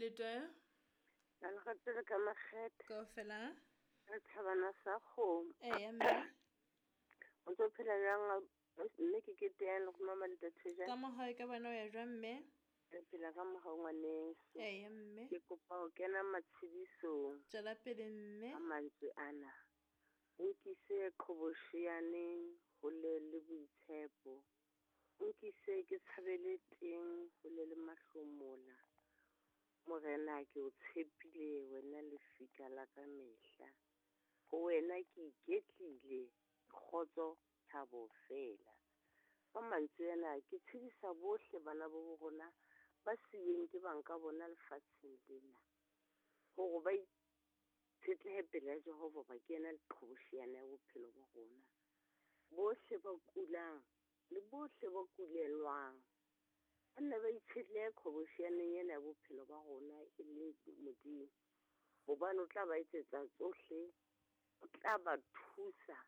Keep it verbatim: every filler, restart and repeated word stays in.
Letoyo. Na le ratile ka makgethe. Kaofela. Re thabana sa kgomo. Eya mme. O ntso phela jwang mme ke kete yang le go mama le tate Ka mohau ka bona o ya jwang mme? Re phela ka mohau ngwaneso. Eya mme. Ke kopa ho kena matshedisong. Tswela pele mme. Ka mantswe ana. O nkise qhobosheaneng hole le boitshepo. O nkise ke tshabele teng hole le mahlomola. Morena ke o tshepile wena lefika la ka mehla. Ho wena ke iketlile kgotso thabo fela. Ka mantswe ana ke tshedisa bohle bana ba bo rona ba siuweng ke bang ka bona lefatsheng lena. Hore ba itshetlehe pele ya Jehova ba ke yena leqhobosheane ya bophelo ba rona. Bohle ba kulang le bohle ba kulelwang. Ba nne ba itshetlehe qhobosheaneng ena ya bophelo ba rona e leng Modimo. Hobane o tla ba etsetsa tsohle, o tla ba thusa.